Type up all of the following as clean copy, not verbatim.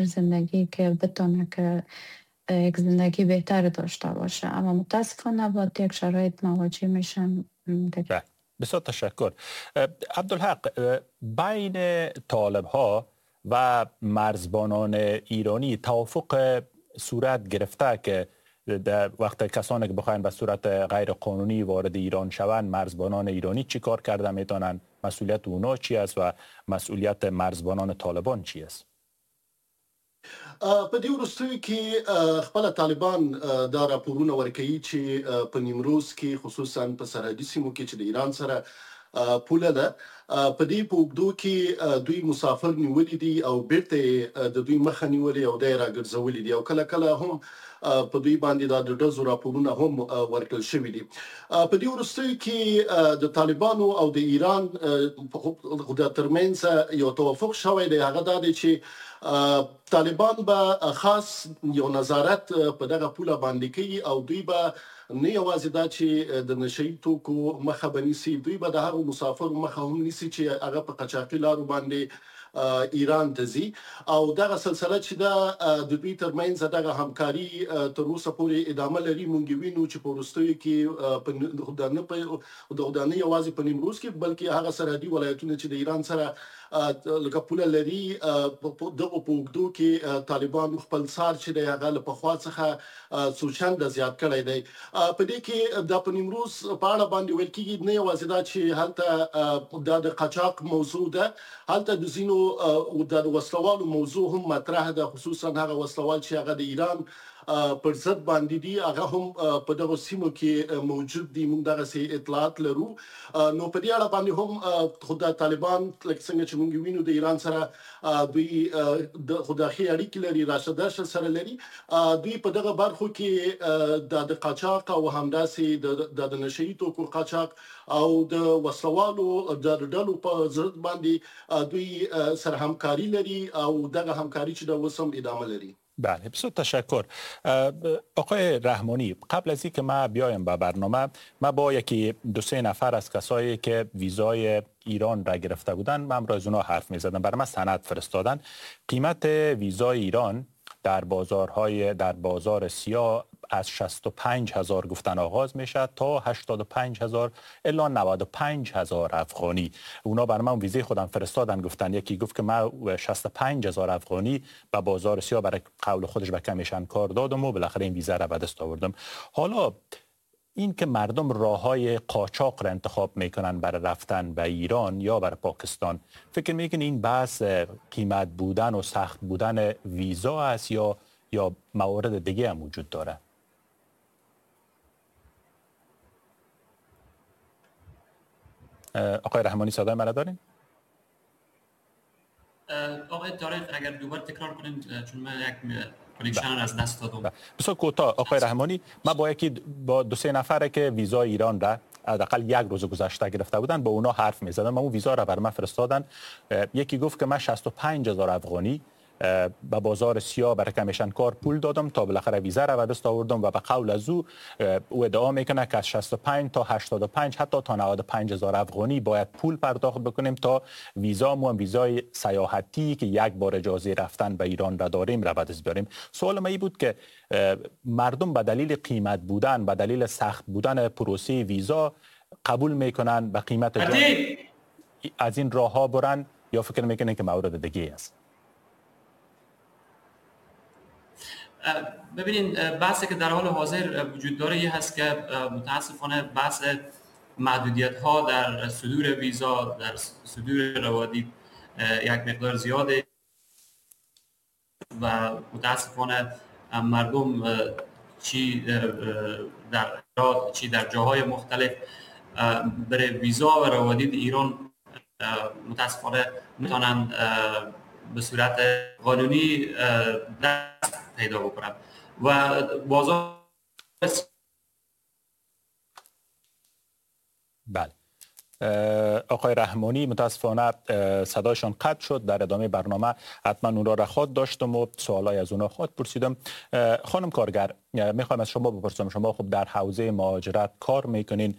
زندگی که بتونه که یک زندگی بهتر داشته باشه، اما متاسفانه با یک شرایط مواجه میشن. بسیار تشکر. عبدالحق، بین طالب ها و مرزبانان ایرانی توافق صورت گرفته که در وقت کسانی که بخواین به صورت غیر قانونی وارد ایران شوند، مرزبانان ایرانی چی کار کرده میتونن، مسئولیت اونا چی است و مسئولیت مرزبانان طالبان چی است؟ په دې وروستیو کې خپل طالبان دا راپورونه ورکوي چې په نیمروز کې، خصوصا په سرحدي سیمو کې چې د ایران سره پوله ده، په دې په اوږدو کې دوی مسافر نیولي دي او بیرته د دوی مخه نیولې او دا یې راګرځولي دي، او کله کله هم په دوی باندې دا د ډزو راپورونه هم ورکړل شوي دي. په دې وروستیو کې د طالبانو او د ایران د ترمنځ یو توافق شوی دی، هغه دا دی چې طالبان به خاص یو نظارت په دغه پوله باندې کوي او دوی به نه یوازې دا چې د نشه یي توکو مخه به نیسي، دوی به د هغو مسافرو مخه هم نیسي چې هغه په قاچاقي لارو باندې ایران ته ځي، او دغه سلسله چې ده د دوی ترمنځ دغه همکاري تر اوسه پورې ادامه لري. مونږ وینو چې په وروستیو کې دا نه یوازې په نیمروز کې بلکې هغه سرحدي ولایتونه چې د ایران سره لکه پوله لري، دغو په اوږدو کې طالبانو خپل څار چې دی هغه له پخوا څخه څو چنده زیات کړی دی. په دې کې دا په نیمروز په اړه باندې ویل کېږي نه یوازې دا چې هلته دا د قاچاق موضوع ده، هلته د ځینو د وسلوالو موضوع هم مطرح ده، خصوصا هغه وسلوال چې هغه د ایران پر ضد باندې دي، هغه هم په دغو سیمو کې موجود دي. موږ دغسې اطلاعات لرو. نو په دې اړه باندې هم خو دا طالبان لکه څنګه چې موږ وینو د ایران سره دوی خو دا ښې اړیکې لري، راشه درشه سره لري، دوی په دغه برخو کې د قاچاق او همداسې د نشه یي توکو قاچاق او د وسلوالو د ډلو په ضد باندې دوی سره همکاري لري او دغه همکاري چې دا اوس هم ادامه لري. بله، بسیار تشکر. آقای رحمانی، قبل از اینکه ما بیایم به برنامه، ما با یکی دو سه نفر از کسایی که ویزای ایران را گرفته بودن من را از اونا حرف می‌زدم، برای من سند فرستادن. قیمت ویزای ایران در بازار سیاه از 65,000 گفتن آغاز میشه تا 85,000 الی 95,000 افغانی. اونا برای من ویزه خودم فرستادن، گفتن یکی گفت که من 65,000 افغانی به بازار سیاه برای قول خودش به کمیشن کار دادم و بالاخره این ویزه را به دست آوردم. حالا این که مردم راه‌های قاچاق را انتخاب میکنن برای رفتن به ایران یا برای پاکستان، فکر میکنین این بحث قیمت بودن و سخت بودن ویزا است یا موارد دیگه هم وجود داره؟ آقای رحمانی صدای مرا دارین؟ آقای طارق اگر دوباره تکرار کنین چون من یک connection از دست دادم. بسیار کوتاه آقای رحمانی، من با یکی با دو سه نفره که ویزای ایران را حداقل یک روز گذشته گرفته بودن با اونا حرف می‌زدم، من اون ویزا را بر من فرستادن. یکی گفت که من 65,000 افغانی به بازار سیاه برای کمیشن کار پول دادم تا بالاخره ویزا را به دست آوردم و به قول از او ادعا میکنه که از 65 تا 85 حتی تا 95,000 افغانی باید پول پرداخت بکنیم تا ویزا مو ویزای سیاحتی که یک بار اجازه رفتن به ایران را داریم را به دست بیاریم. سوال من این بود که مردم به دلیل قیمت بودن، به دلیل سخت بودن پروسه ویزا قبول میکنن به قیمت جان از این راه ها برن یا فکر میکنن که مورد دیگه است؟ ببینین، بحثی که در حال حاضر وجود داره یه هست که متاسفانه بحث محدودیت ها در صدور ویزا، در صدور روادید یک مقدار زیاده و متاسفانه مردم چی در هرات چی در جاهای مختلف برای ویزا و روادید ایران متاسفانه میتونن به صورت قانونی دست پیدا بکنن و بازار. بله آقای رحمانی متاسفانه صدایشان قطع شد. در ادامه برنامه حتما اون را خواهد داشتم و سوالای از اونا خواهد پرسیدم. خانم کارگر، میخوایم از شما بپرسم، شما خب در حوزه مهاجرت کار میکنین،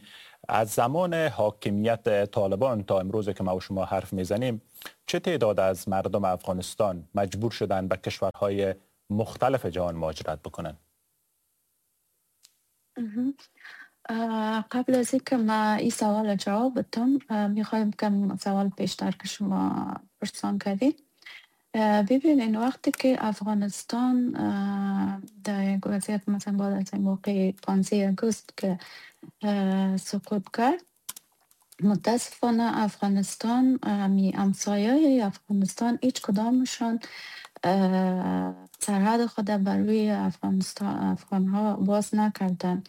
از زمان حاکمیت طالبان تا امروز که ما و شما حرف میزنیم چه تعداد از مردم افغانستان مجبور شدن به کشورهای مختلف جهان مهاجرت بکنن؟ قبل از اینکه ما این سوال جواب بدم، میخوایم کم سوال پیشتر که شما پرسان کردید. ببینین، وقتی که افغانستان در یک وضعیت، مثلا بعد از این موقع 15 اگست که سقوط کرد، متاسفانه افغانستان، می همسایه افغانستان هیچ کدامشان سرحد خود بر روی افغانستان، افغان ها باز نکردن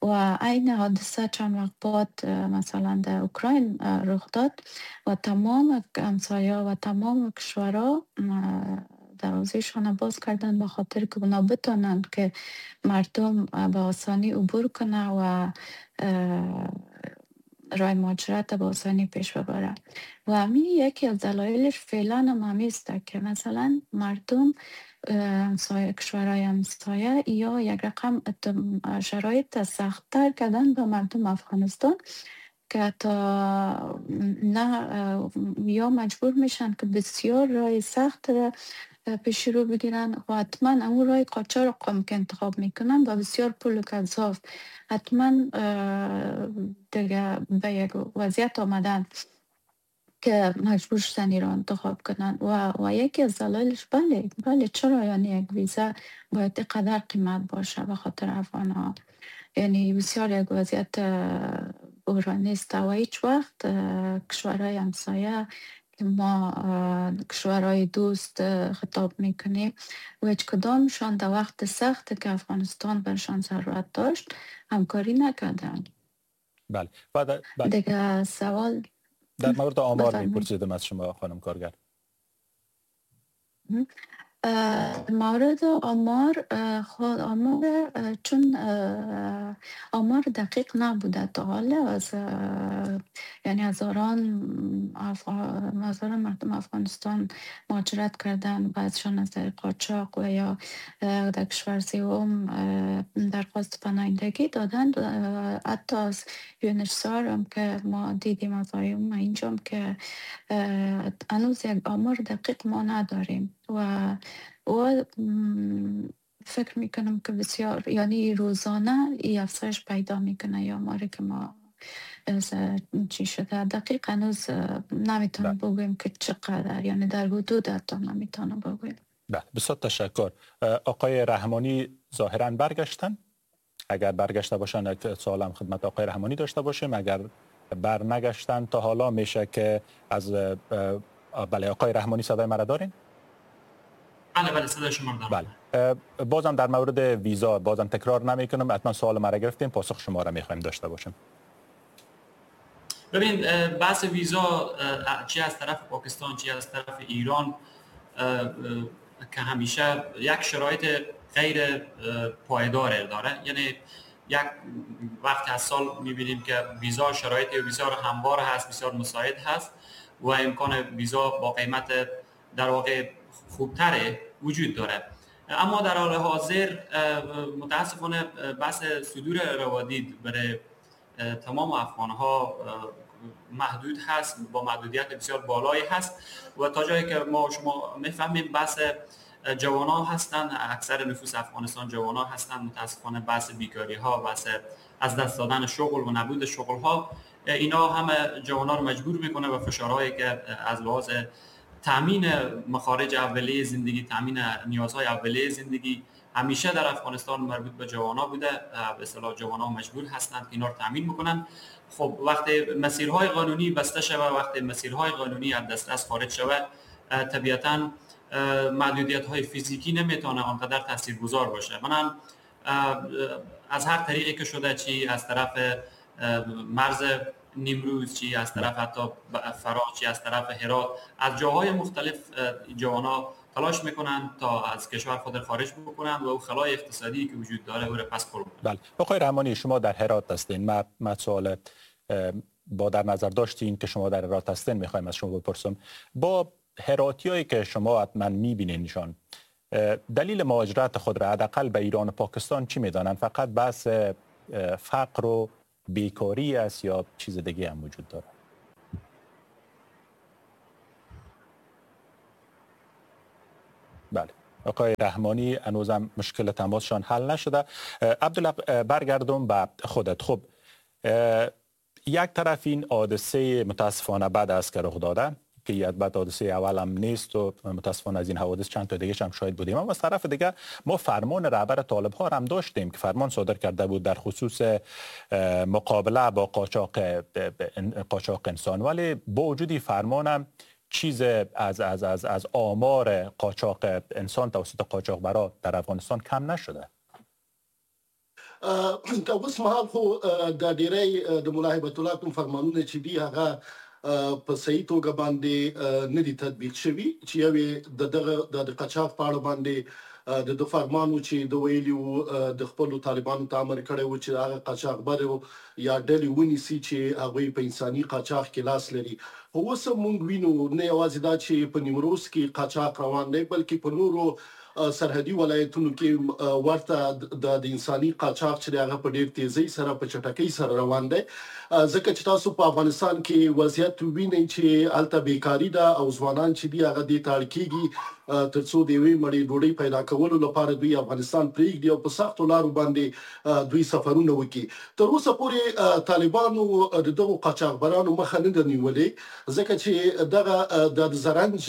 و عین حادثه چند وقت بعد مثلا در اوکراین رخ داد و تمام همسایه و تمام کشورها دروازهشان باز کردن، به خاطر که اونا بتانن که مردم به آسانی عبور کنه و راه مهاجرت به آسانی پیش ببره. و همی یکی از دلایلش فعلا هم همیست که مثلا مردم همسایه، کشورهای همسایه یا یک رقم شرایط سختتر کردن به مردم افغانستان که تا نه یا مجبور میشن که بسیار راه سخت را پیش رو بگیرن و حتما اون راه قاچاق هم که انتخاب میکنن با بسیار پول و گزاف، حتما دیگه به یک وضعیت آمدن که مجبور شدن ایران انتخاب کنن. و یکی از دلایلش، بله بله، چرا یعنی یک ویزا باید قدر قیمت باشه به خاطر افغان ها؟ یعنی بسیار یک وضعیت بحرانی است و هیچ وقت کشورهای همسایه که ما کشورهای دوست خطاب میکنیم و هیچ کدامشان در وقت سخت که افغانستان برشان ضرورت داشت همکاری نکردن. بله، بعد دیگه سوال در مورد آمار میپرسیدم از شما خانم کارگر. مورد آمار، خود آمار، چون آمار دقیق نبوده تا حالا، از یعنی هزاران مردم افغانستان مهاجرت کردن، بعضشان از طریق قاچاق و یا در کشور سوم درخواست پناهندگی دادن. حتی از UNHCR هم که ما دیدیم، از IOM اینجا که هنوز یک آمار دقیق ما نداریم و فکر میکنم که بسیار، یعنی روزانه ای افزایش پیدا میکنه یا آماری که ما چی شده دقیق هنوز نمیتونم بگویم که چقدر، یعنی در حدود حتی نمیتونم بگویم. بله، بسیار تشکر. آقای رحمانی ظاهرا برگشتن. اگر برگشته باشن یک سوالم خدمت آقای رحمانی داشته باشیم. اگر بر نگشتن تا حالا میشه که از بله، آقای رحمانی صدای مرا دارین؟ بله بله، صدای شما دارم. بله، بازم در مورد ویزا بازم تکرار نمی کنم، حتما سوال مرا گرفتیم، پاسخ شما را میخوایم داشته باشیم. ببین، بحث ویزا چی از طرف پاکستان چی از طرف ایران که همیشه یک شرایط غیر پایدار داره. یعنی یک وقت از سال میبینیم که ویزا، شرایط ویزا هموار هست، بسیار مساعد هست و امکان ویزا با قیمت در واقع خوبتره وجود داره. اما در حال حاضر متاسفانه بحث صدور روادید برای تمام افغان ها محدود هست، با محدودیت بسیار بالایی هست و تا جایی که ما شما میفهمیم بحث جوان ها هستند، اکثر نفوس افغانستان جوان ها هستند. متاسفانه بحث بیکاری ها، بحث از دست دادن شغل و نبود شغل ها، اینا همه جوان ها رو مجبور میکنه و فشارهایی که از لحاظ تامین مخارج اولیه زندگی، تامین نیازهای اولیه زندگی همیشه در افغانستان مربوط به جوان‌ها بوده، به اصطلاح جوان‌ها مجبور هستند که اینا رو تامین بکنن. خب وقتی مسیرهای قانونی بسته شود، وقتی مسیرهای قانونی از دسترس خارج شود، طبیعتاً محدودیت‌های فیزیکی نمیتونه آنقدر تاثیرگذار باشه. من از هر طریقی که شده، چی از طرف مرز نیمروز، چی از طرف حتی فراه، چی از طرف هرات، از جاهای مختلف جوان‌ها تلاش میکنن تا از کشور خود خارج بکنن و او خلای اقتصادی که وجود داره او را پس پر بکنن. بله، آقای رحمانی شما در هرات هستین. ما سوال با در نظر داشتین که شما در هرات هستین میخوایم از شما بپرسم، با هراتیایی که شما حتما میبینینشان، دلیل مهاجرت خود را حداقل به ایران و پاکستان چی میدانن؟ فقط بحث فقر و بیکاری است یا چیز دیگه هم وجود داره؟ آقای رحمانی هنوزم مشکل تماسشان حل نشده. عبدالحق، برگردم به خودت. خب یک طرف این حادثه متاسفانه بعد از که رخ داده که یک بعد حادثه اول هم نیست و متاسفانه از این حوادث چند تا دیگه هم شاهد بودیم، اما از طرف دیگه ما فرمان رهبر طالب ها هم داشتیم که فرمان صادر کرده بود در خصوص مقابله با قاچاق انسان، ولی با وجود فرمان هم چیز از از از از آمار قاچاق انسان توسط قاچاقبرا در افغانستان کم نشده. تا اوس مهال خو د ډیری د ملا هبت الله کوم فرمانونه چې دي هغه په صحیح توګه باندې نه دي تطبیق شوي، چې یو یې د دغه د قاچاق په اړه باندې د ده فرمان و چې ده ویلي وو د خپلو طالبانو ته امر کړی و چې هغه قاچاقبر یا ډلې ونیسي چې هغوی په انساني قاچاق کې لاس لري. خو اوس هم موږ وینو نه یوازې دا چې په نیمروز کې قاچاق روان دی، بلکې په نورو سرحدي ولایتونو کې ورته د انساني قاچاق چې هغه په ډیر تیزۍ سره په چټکۍ سره روان دی. ځکه چې تاسو په افغانستان کې وضعیت وینئ چې هلته بیکاري ده او ځوانان چې دي هغه دې ته اړ کیږي ترڅو د یوې مړې ډوډۍ پیدا کولو لپاره دوی افغانستان پرېږدي او په سختو لارو باندې دوی سفرونه وکړي. تر اوسه پورې طالبانو د دغو قاچاقبرانو مخه نه ده نیولې، ځکه چې دغه د زرنج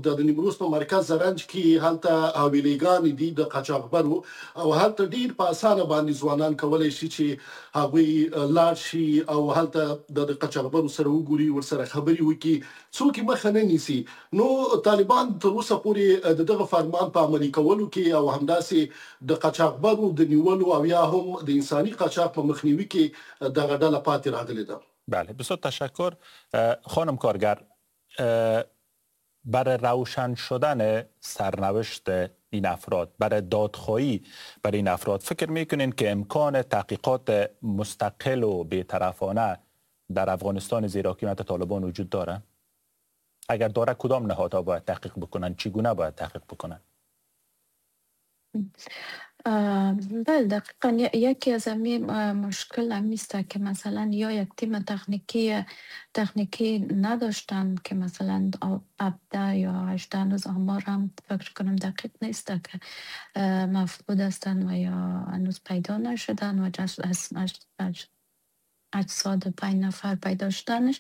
د نیمروز په مرکز زرنج کې هلته حویلیګانې دي د قاچاقبرو، او هلته ډیر په اسانه باندې ځوانان کولی شي چې هغوی لاړ شي او هلته د قاچاقبرو سره وګوري، ورسره خبرې وکړي، څوک یې مخه نه نیسي. نو طالبان تر اوسه پورې د دغه فرمان په عملي کولو کې او همداسې د قاچاقبرو د نیولو او یا هم د انساني قاچاق په مخنیوي کې دغه ډله پاتې راغلې ده. بله، بسیار تشکر. خانم کارگر، برای روشن شدن سرنوشت این افراد، برای دادخواهی برای این افراد، فکر میکنین که امکان تحقیقات مستقل و بی‌طرفانه در افغانستان زیر حاکمیت طالبان وجود داره؟ اگر داره کدام نهادها باید تحقیق بکنن؟ چگونه باید تحقیق بکنن؟ بله، دقیقا یکی از همین مشکل همیست که مثلا یا یک تیم تکنیکی نداشتن که مثلا 17 یا 18 هنوز آمار هم فکر کنم دقیق نیست که مفقود هستن و یا هنوز پیدا نشدن و اجساد 5 نفر پیدا شدنش،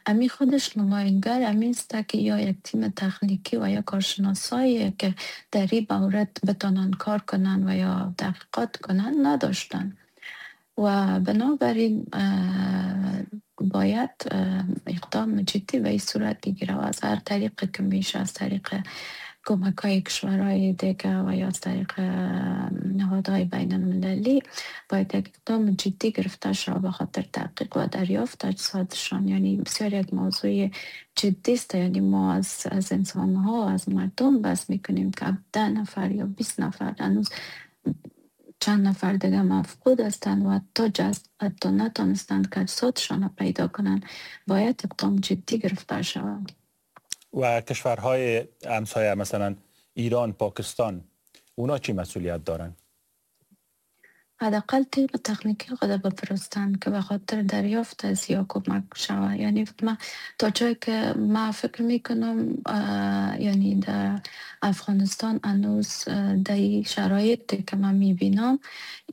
امی خودش نماینگر امی است که یا یک تیم تکنیکی و یا کارشناسایی که در این مورد بتانن کار کنن و یا تحقیقات کنن نداشتن و بنابراین باید اقدام جدی به این صورت بگیره و از هر طریقی که میشه، از طریق کمک های کشورهای دیگه و یا از طریق نهادهای بین المللی باید یک اقدام جدی گرفته شود به خاطر تحقیق و دریافت اجسادشان. یعنی بسیار یک موضوع جدی است. یعنی ما از انسان ها، از مردم بس میکنیم که 10 نفر یا 20 نفر هنوز چند نفر دیگه مفقود هستند و حتی نتانستند که اجسادشان را پیدا کنند. باید اقدام جدی گرفته شود. و کشورهای همسایه مثلا ایران، پاکستان، اونا چی مسئولیت دارن؟ حداقل تیم تکنیکی خود بفرستن که به خاطر دریافت از یا کمک شود. یعنی ما تا جایی که ما فکر میکنم، یعنی در افغانستان هنوز در این شرایطی که من میبینم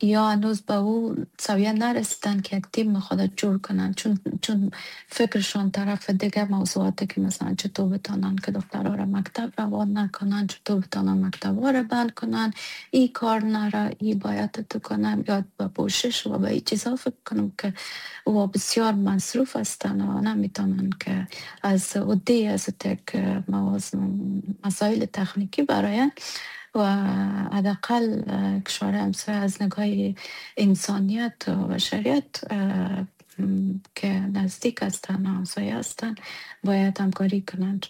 یا هنوز به او سویه نرسیدن که یک تیم خود جور کنن، چون فکرشان طرف دیگه موضوعاتی که مثلا چطور بتانن که دخترها را مکتب روان نکنن، چطور بتانن مکتب ها را بند کنن، ای کار نره، ای باید تو کنن، یاد به پوشش و به این چیزها فکر کنم که او بسیار مصروف هستن و نمیتونن که از عده از تک مسائل تکنیکی براین و حداقل کشور همسایه از نگاه انسانیت و بشریت که نزدیک هستن و همسایه هستن باید همکاری کنند.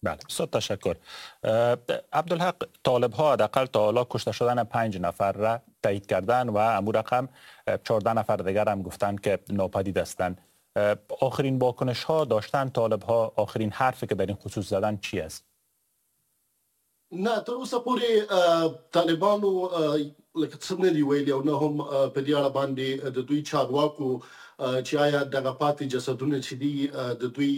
بله، بسیار تشکر. عبدالحق، طالب ها حداقل تا حالا کشته شدن 5 نفر را تایید کردن و امو رقم 14 نفر دیگر هم گفتن که ناپدید هستند. آخرین واکنش ها داشتن طالب ها، آخرین حرفی که در این خصوص زدن چی است؟ نه، تر اوسه پورې طالبانو لکه څه نه دي ویلي او نه هم په دې اړه باندې د دوی چارواکو چې آیا دغه پاتې جسدونه چې دي د دوی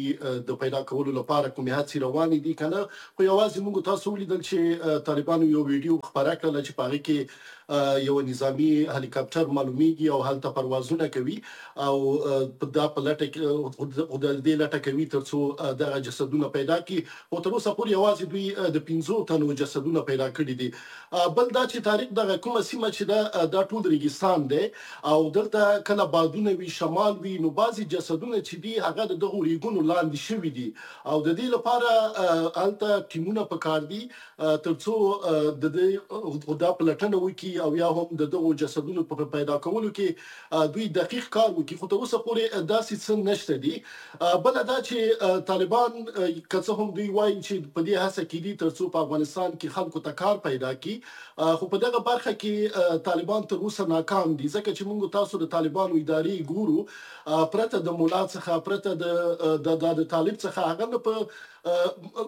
د پیدا کولو لپاره کومې هڅې روانې دي که نه. خو یوازې موږ تاسو ولیدل چې طالبانو یو ویډیو خپره کړله چې په هغې کې یو نظامی هلیکاپټر معلومیږي او هلته پروازونه کوي او دا په لټه کې د دې لټه کوي ترڅو دغه جسدونه پیدا کړي. خو تر اوسه پورې یوازې دوی د 5 تنو جسدونه پیدا کړي دي. بل دا چې تاریخ دغه کومه سیمه چې دا ټول ریګستان دی او دلته کله بادونه وي، شمال وي، نو بعضې جسدونه چې دي هغه د دغو ریګونو لاندې شوي دي او د دې لپاره هلته ټیمونه پکار دي ترڅو د دې دا پلټنه وکړي او یا هم د دغو جسدونو په پیدا کولو کې دوی دقیق کار وکړي. خو تر اوسه پورې داسې څه نشته دي. بله دا چې طالبان که څه هم دوی وایي چې په دې هڅه کې دي ترڅو په افغانستان کې خلکو ته کار پیدا کړي، خو په دغه برخه کې طالبان تر اوسه ناکام دي، ځکه چې موږ تاسو د طالبانو ادارې ګورو پرته د مولا څخه، پرته د طالب څخه، هغه نه په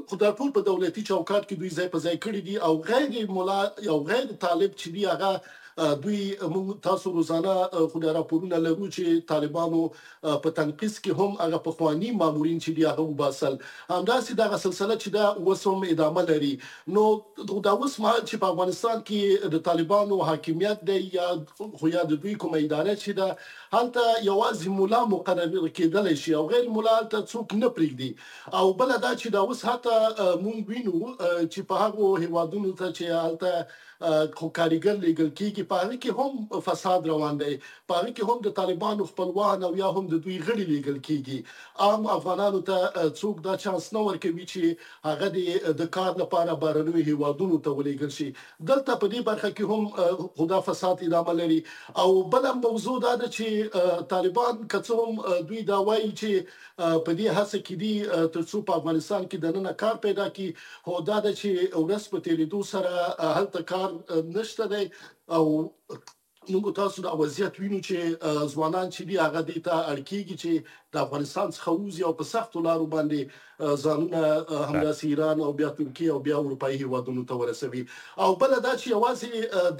خو دا ټول په دولتي چوکاټ کې دوی ځای په ځای کړي دي او غیر مولا او غیر طالب چې دي هغه دوی موږ تاسو روزانه خو دا راپورونه لرو چې طالبانو په تنقیص کې هم هغه پخواني مامورین چې دي هغه وباسل. همداسې دغه سلسله چې دا اوس هم ادامه لري. نو دا اوس مهال چې په افغانستان کې د طالبانو حاکمیت دی یا خو یا د دوی کومه اداره چې ده، هلته یوازې مولا مقرر کېدلی شي او غیر مولا هلته څوک نه پرېږدي. او بله دا چې دا اوس حتی موږ وینو چې په هغو هیوادونو ته چې هلته خو کاریګر لیږل کېږي په هغه کې هم فساد روان دی، په هغه کې هم د طالبانو خپلوان او یا هم د دوی غړي لیږل کېږي. عام افغانانو ته څوک دا چانس نه ورکوي چې هغه د کار لپاره بهرنیو هیوادونو ته ولیږل شي. دلته په دې برخه کې هم خو دا فساد ادامه لري. او بله موضوع دا ده چې طالبان که څه هم دوی دا وایي چې په دې هڅه کې دي ترڅو په افغانستان کې دننه کار پیدا کړي، خو دا ده چې ورځ په تېرېدو سره هلته کار نشته دی او موږ تاسو دا وضعیت وینو چې ځوانان چې دي هغه دې ته اړ کېږي چې د افغانستان څخه ووځي او په سختو لارو باندې ځانونه همداسې ایران او بیا ترکیې او بیا اروپایي هیوادونو ته ورسوي. او بله دا چې یوازې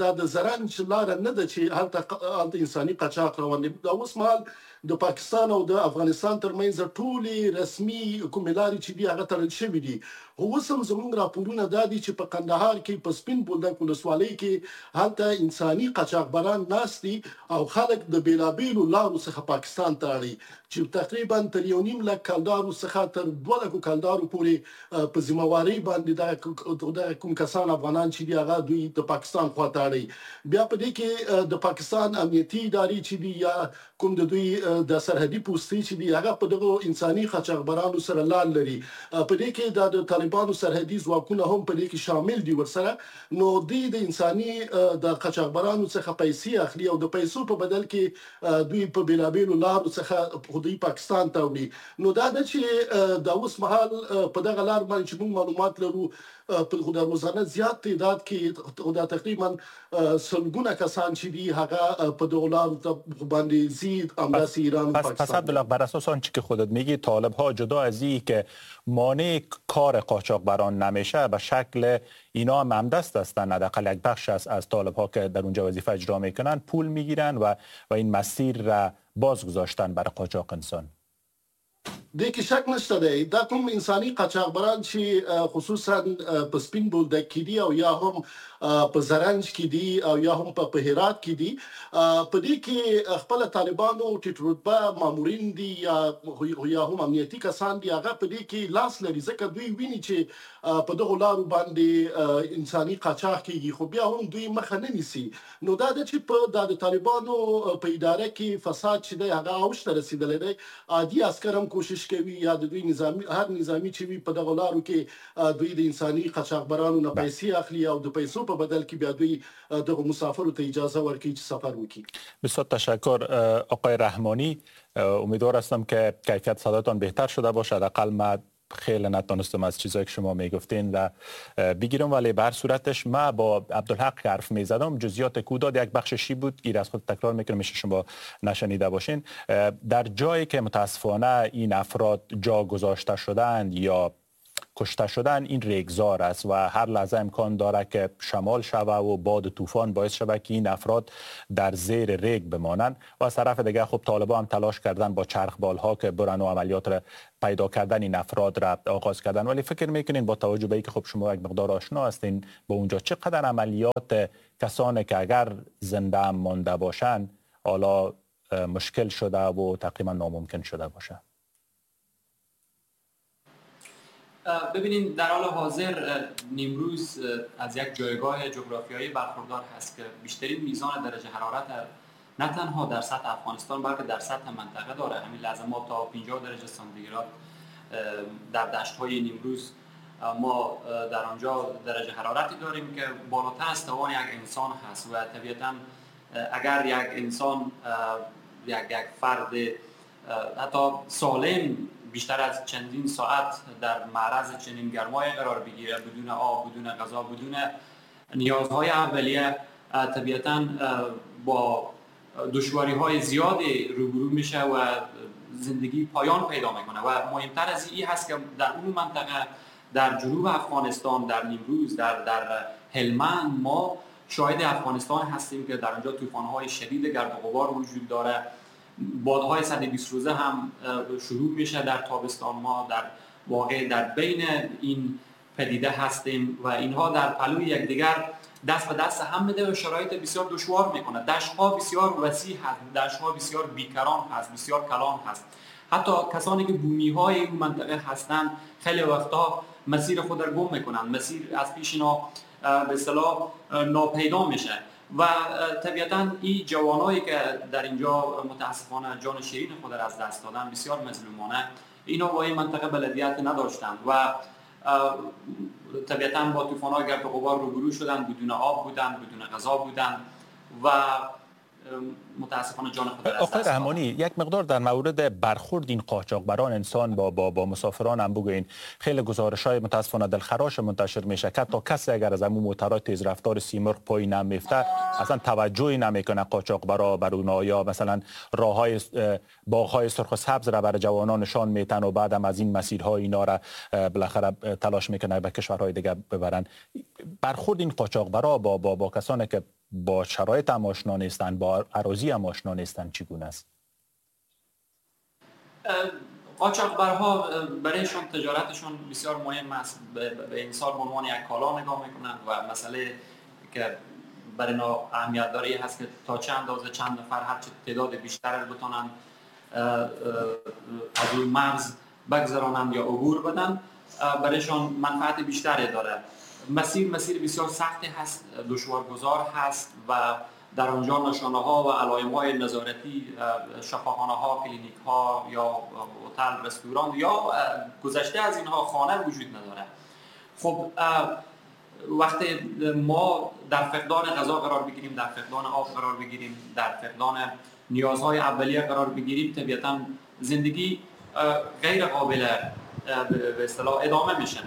دا د زرنج لاره نه ده چې هلته انساني قاچاق روان دی. دا اوس مهال د پاکستان او د افغانستان ترمنځ ټولې رسمي کومې لارې چې دي هغه تړل شوې دي. خو اوس هم زموږ راپورونه دا دي چې په قندهار کې په سپین بولدک ولسوالۍ کې هلته انساني قاچاقبران ناست دي او خلک د بېلابېلو لارو څخه پاکستان ته اړي چې تقریبا تر 1.5 لک کلدارو څخه تر 2 لکو کلدارو پورې په ذمه وارۍ باندې دغه کوم کسان افغانان چې دي هغه دوی د پاکستان خواته اړي. بیا په دې کې د پاکستان امنیتي ادارې چې دي یا کوم د دوی د سرحدي پوستې چې دي هغه په دغو انساني قاچاقبرانو سره لار لري. په دې کې د طالبانو سرحدي ځواکونه هم په دې کې شامل دي ورسره. نو دوی د انساني د قاچاقبرانو څخه پیسې اخلي او د پیسو په بدل کې دوی په بېلابېلو لارو څخه دوی پاکستان ته وړي. نو دا ده چې دا اوس مهال په دغه لار باندې چې موږ معلومات لرو په د روزانه زیات تعداد کې دا تقریبا سلګونه کسان چې دي هغه په دغو لارو باندې ځي همداسې ایران و پاکستان. پس عبدالله بر اساس آنچه که خودت میگی طالب ها جدا از این که مانع کار قاچاقبران نمیشه به شکل اینا هم همدست هستن، حداقل یک بخش از طالب ها که در اونجا وظیفه اجرا میکنن پول میگیرن و این مسیر را باز گذاشتن برای قاچاق انسان. دې کې شک نشته دی. دا کوم انساني قاچاقبران چې خصوصا په سپین بولدک کې دي او یا هم په زرنج کې دي او یا هم په هرات کې دي، په دې کې خپل طالبانو ټیټ رتبه مامورین دي یا هم امنیتي کسان دي هغه په دې کې لاس لري، ځکه دوی ویني چې په دغو لارو باندې انساني قاچاق کیږي، خو بیا هم دوی مخه نه نیسي. نو دا ده چې په دا د طالبانو په اداره کې فساد چې دی هغه اوج ته رسېدلی دی. عادي عسکر هم کوشش کوي یا د دوی نظامی هر نظامی چې وي په دغو لارو کې دوی د انساني قاچاقبرانو نه پیسې اخلي او د پیسو په بدل کې بیا دوی دغو مسافرو ته اجازه ورکوي چې سفر وکړي. بسیار تشکر آقای رحمانی. امیدوار هستم که کیفیت صدایتان بهتر شده باشه. حداقل من خیلی نتونستم از چیزایی که شما میگفتین و بگیرم، ولی بر صورتش ما با عبدالحق حرف میزدم، جزئیات کوداد یک بخششی بود ایر از خود تکرار میکنم میشه شما نشنیده باشین. در جایی که متاسفانه این افراد جا گذاشته شدند یا کشته شدن این ریگزار است و هر لحظه امکان داره که شمال شوه و باد طوفان باعث شوه که این افراد در زیر ریگ بمانند. و از طرف دیگه خب طالبان هم تلاش کردن با چرخ بالها که برن و عملیات را پیدا کردن این افراد را آغاز کردن. ولی فکر میکنین با توجه به اینکه خب شما یک مقدار آشنا هستین با اونجا، چقدر عملیات کسانی که اگر زنده هم مانده باشن حالا مشکل شده و تقریبا ناممکن شده باشه؟ ببینین، در حال حاضر نیمروز از یک جایگاه جغرافیایی برخوردار هست که بیشترین میزان درجه حرارت نه تنها در سطح افغانستان بلکه در سطح منطقه داره. همین لحظه ما تا 50 درجه سانتیگراد در دشت‌های نیمروز ما در آنجا درجه حرارتی داریم که بالاتر از توان یک انسان هست و طبیعتاً اگر یک انسان، یک فرد حتی سالم بیشتر از چندین ساعت در معرض چنین گرمای قرار بگیره، بدون آب، بدون غذا، بدون نیازهای اولیه، طبیعتاً با دشواری‌های زیادی روبرو میشه و زندگی پایان پیدا میکنه. و مهمتر از این هست که در اون منطقه، در جنوب افغانستان، در نیمروز، در هلمند، ما شاهد افغانستان هستیم که در آنجا طوفان‌های شدید گرد و غبار وجود داره، بادهای 120 روزه هم شروع میشه در تابستان. ما در واقع در بین این پدیده هستیم و اینها در پلوی یکدیگر دست به دست هم میده و شرایط بسیار دشوار میکنه. دشت‌ها بسیار وسیع هست، دشت‌ها بسیار بیکران هست، بسیار کلان هست. حتی کسانی که بومی‌های این منطقه هستند خیلی وقتا مسیر خود را گم میکنن، مسیر از پیش اینا به اصطلاح ناپیدا میشه و طبیعتاً این جوانایی که در اینجا متاسفانه جان شیرین خود را از دست دادن، بسیار مظلومانه، اینا با این منطقه بلدیت نداشتند و طبیعتاً با طوفان‌های گرد و غبار روبرو شدن، بدون آب بودن، بدون غذا بودن و متاسفانه جان خود را از دست آقای رحمانی، یک مقدار در مورد برخورد این قاچاقبران انسان با مسافران هم بگوین. خیلی گزارش‌های متاسفانه دلخراش منتشر میشه که تا کسی اگر از امو موترهای تیز رفتار سیمرغ پایین نمیفته اصلا توجهی نمیکنه قاچاقبرا بر اونا، یا مثلا راههای باغ‌های سرخ و سبز را برای جوانان نشان میتن و بعدم از این مسیرها اینا را بالاخره تلاش میکنه به کشورهای دیگه ببرن. برخورد این قاچاقبرا با کسانی که با شرایط هم آشنا نیستن، با اراضی هم آشنا نیستن، چگونه است؟ قاچاقبرها برایشان تجارتشان بسیار مهم است. به انسان به عنوان یک کالا نگاه میکنند و مسئله که برای اینا اهمیت داره هست که تا چند اندازه چند نفر هر چه تعداد بیشتر بتونن از اون مرز بگذرانند یا عبور بدن، برایشان منفعت بیشتری داره. مسیر بسیار سختی هست، دشوارگذار هست و در آنجا نشانه ها و علائم های نظارتی، شفاخانه ها، کلینیک ها یا هتل، رستوران یا گذشته از اینها خانه وجود نداره. خب وقتی ما در فقدان غذا قرار بگیریم، در فقدان آب قرار بگیریم، در فقدان نیازهای اولیه قرار بگیریم، طبیعتا زندگی غیر قابل به اصطلاح ادامه میشه.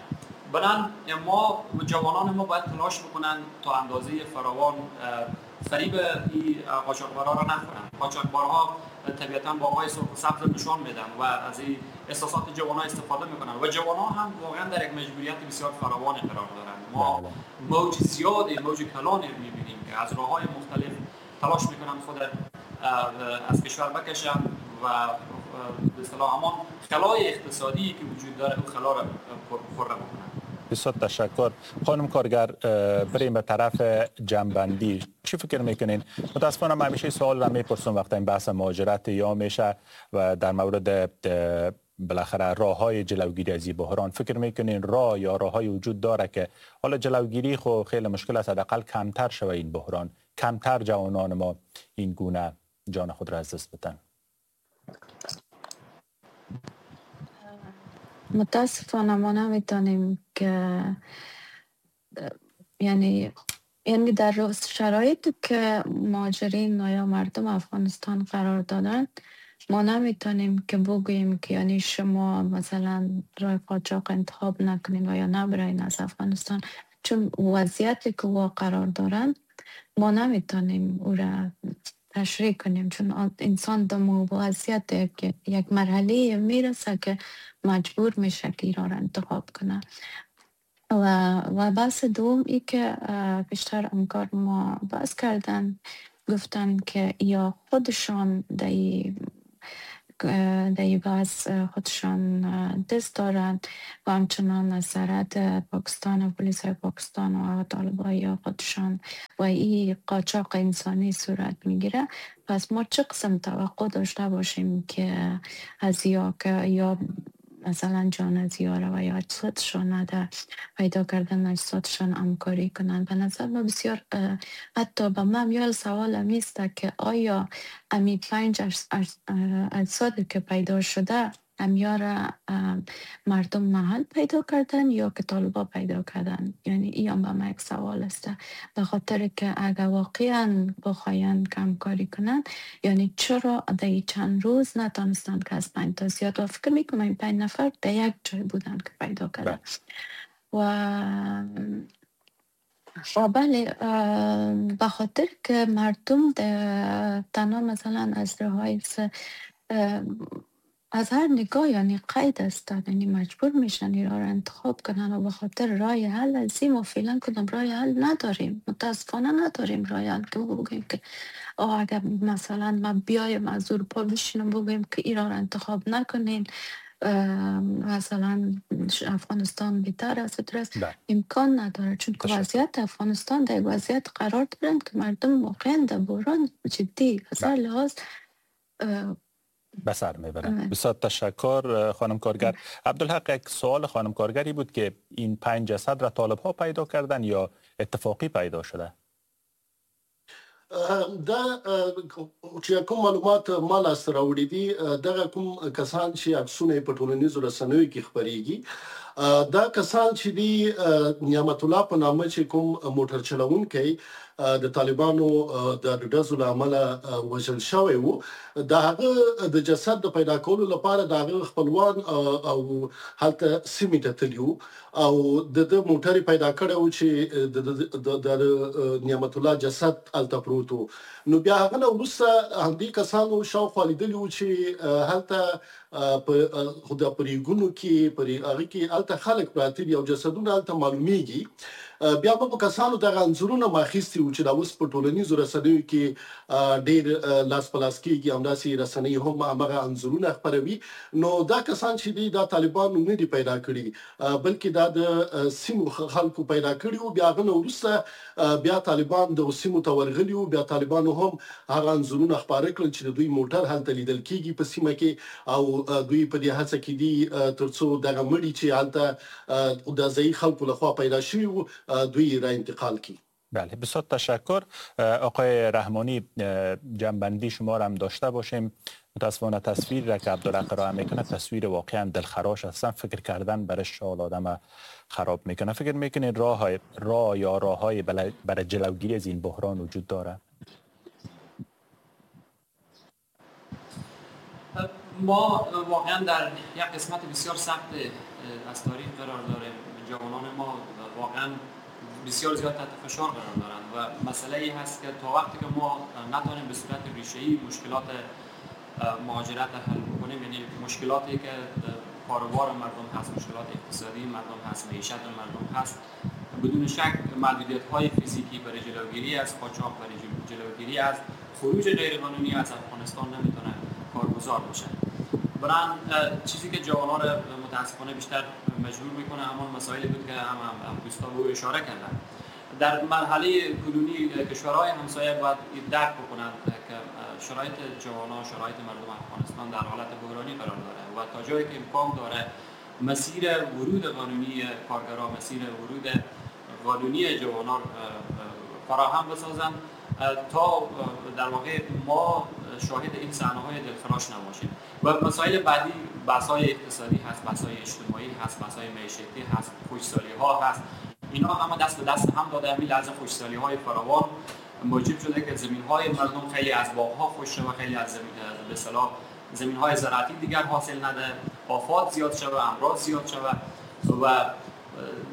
بنابراین ما جوانان ما باید تلاش بکنن تا اندازه فراوان فریب این قاچاقبرها را نخورن. قاچاقبرها طبیعتا باغ‌های سرخ و سبز نشان میدن و از این احساسات جوانان استفاده میکنن و جوانان هم واقعا در یک مجبوریت بسیار فراوان قرار دارن. ما موج زیادی، موج کلانی میبینیم که از راه‌های مختلف تلاش میکنن خود از کشور بکشن و به اصطلاح همان خلای اقتصادی که وجود داره اون خلا را پر بکنن. بسیار تشکر. خانم کارگر، بریم به طرف جنبندی. چی فکر میکنین؟ متاسفانه من همیشه سوال را میپرسم وقتی این بحث مهاجرت یا میشه و در مورد بالاخره راه‌های جلوگیری از این بحران، فکر میکنین راه یا راه‌های وجود داره که حالا جلوگیری خو خیلی مشکل است، حداقل کمتر شوه این بحران، کمتر جوانان ما این گونه جان خود را از دست بدن؟ متاسفانه ما نمیتونیم که یعنی در شرایطی که مهاجرین یا مردم افغانستان قرار دادن، ما نمیتونیم که بگوییم که یعنی شما مثلا راه قاچاق انتخاب نکنین و یا نبرین از افغانستان، چون وضعیتی که وا قرار دارن ما نمیتونیم او را تشریح کنیم، چون انسان در وضعیت یک مرحله میرسه که مجبور میشه که ایران را انتخاب کنه. و بحث دوم ای که بیشتر همکار ما بحث کردن، گفتن که یا خودشان در بحث خودشان دست دارند و همچنان از سرحد پاکستان و پلیس پاکستان و طالبای خودشان و این قاچاق انسانی صورت میگیره. پس ما چه قسم توقع داشته باشیم که از یا که یا مثلا جان از یاره و یا اجسادشان در پیدا کردن اجسادشان همکاری کنند؟ به نظر ما بسیار حتی به من یه سوال میسته که آیا امی 5 اجساد که پیدا شده امیار مردم محل پیدا کردن یا که طالبا پیدا کردن؟ یعنی این هم به من یک سوال است، به خاطر که اگر واقعا بخواین که همکاری کنن، یعنی چرا در چند روز نتانستن که از 5 تا زیاد، و فکر میکنم این 5 نفر در یک جای بودن که پیدا کردن. و بله، به خاطر که مردم تنها مثلا از راهای از هر نگاه یعنی قید هستن، یعنی مجبور میشن ایران را انتخاب کنن و به خاطر رای حل از این ما فعلا کدام رای حل نداریم، متاسفانه نداریم رای حل که بگیم که اگر مثلا ما بیایم از اروپا بشینم بگیم که ایران را انتخاب نکنین، مثلا افغانستان بهتر است، امکان نداره، چون که وضعیت افغانستان در وضعیت قرار دارن که مردم واقعا در بحران جدی از هر لحاظ به سر میبرن. بسیار تشکر خانم کارگر. عبدالحق، یک سوال خانم کارگری بود که این 5 جسد را طالب ها پیدا کردن یا اتفاقی پیدا شده؟ دا چې کوم معلومات ما لاسته راوړي دي، دغه کوم کسان چې عکسونه یې په ټولنیزو رسنیو کې خپرېږي، دا کسان چې دي نعمت الله په نامه چې کوم موټر چلوونکی د طالبانو د ډزو له امله وژل شوی و، د هغه د جسد د پیدا کولو لپاره د هغه خپلوان او هلته سیمې ته تللي وو او د ده موټر یې پیدا کړی و چې د نعمت الله جسد هلته پروت و. نو بیا هغه نه وروسته همدې کسانو شاوخوا لیدلي وو چې هلته په ریګونو کې په هغه کې هلته خلک پراته دي او جسدونه هلته معلومیږي. بیا به په کسانو دغه انځورونه ما اخیستي وو چې دا اوس په ټولنیزو رسنیو کې ډېر لاس په لاس کېږي، همداسې رسنۍ هم همغه انځورونه خپروي. نو دا کسان چې دي دا طالبانو نه دي پیدا کړي، بلکې دا د سیمو خلکو پیدا کړي وو. بیا هغه نه وروسته بیا طالبان دغو سیمو ته ورغلي وو، بیا طالبانو هم هغه انځورونه خپاره کړل چې د دوی موټر هلته لیدل کېږي په سیمه کې، او دوی په دې هڅه کې دي ترڅو دغه مړي چې هلته د ځایي خلکو لخوا پیدا شوي وو دوی را انتقال کی. بله، بسیار تشکر. آقای رحمانی، جنبندی شما را هم داشته باشیم. متاسفانه تصویر را که عبدالحق ارائه میکنه تصویر واقعا دلخراش هستن، فکر کردن برش شال آدم خراب میکنه. فکر میکنید راه یا راههای برای جلوگیری از این بحران وجود داره؟ ما واقعا در یک قسمت بسیار سخت از تاریخ قرار داریم. جوانان ما واقعا بسیار زیاد تحت فشار قرار دارند و مسئله ای هست که تا وقتی که ما نتونیم به صورت ریشه‌ای مشکلات مهاجرت حل بکنیم، یعنی مشکلاتی که کاروبار مردم هست، مشکلات اقتصادی مردم هست، معیشت مردم هست، بدون شک محدودیت‌های فیزیکی برای جلوگیری از قاچاق، برای جلوگیری از خروج غیرقانونی از افغانستان نمیتونه کارگزار باشه. برای چیزی که جوان‌ها را متاسفانه بیشتر مجبور میکنه همان مسائلی بود که هم دوستا به اشاره کردن. در مرحله کنونی کشورهای همسایه باید درک بکنند که شرایط جوانان، شرایط مردم افغانستان در حالت بحرانی قرار داره و تا جایی که امکان داره مسیر ورود قانونی کارگران، مسیر ورود قانونی جوانان فراهم بسازند تا در واقع ما شاهد این صحنه‌های دلخراش نباشیم. و مسائل بعدی بحث‌های اقتصادی هست، بحث‌های اجتماعی هست، بحث‌های معیشتی هست، خشکسالی‌ها هست. اینا همه دست به دست هم داده. همین لحظه خشکسالی‌های فراوان موجب شده که زمین‌های مردم خیلی از باغ‌ها خشک شده و خیلی از به اصطلاح زمین‌های زراعتی دیگر حاصل نده، آفات زیاد شده، امراض زیاد شده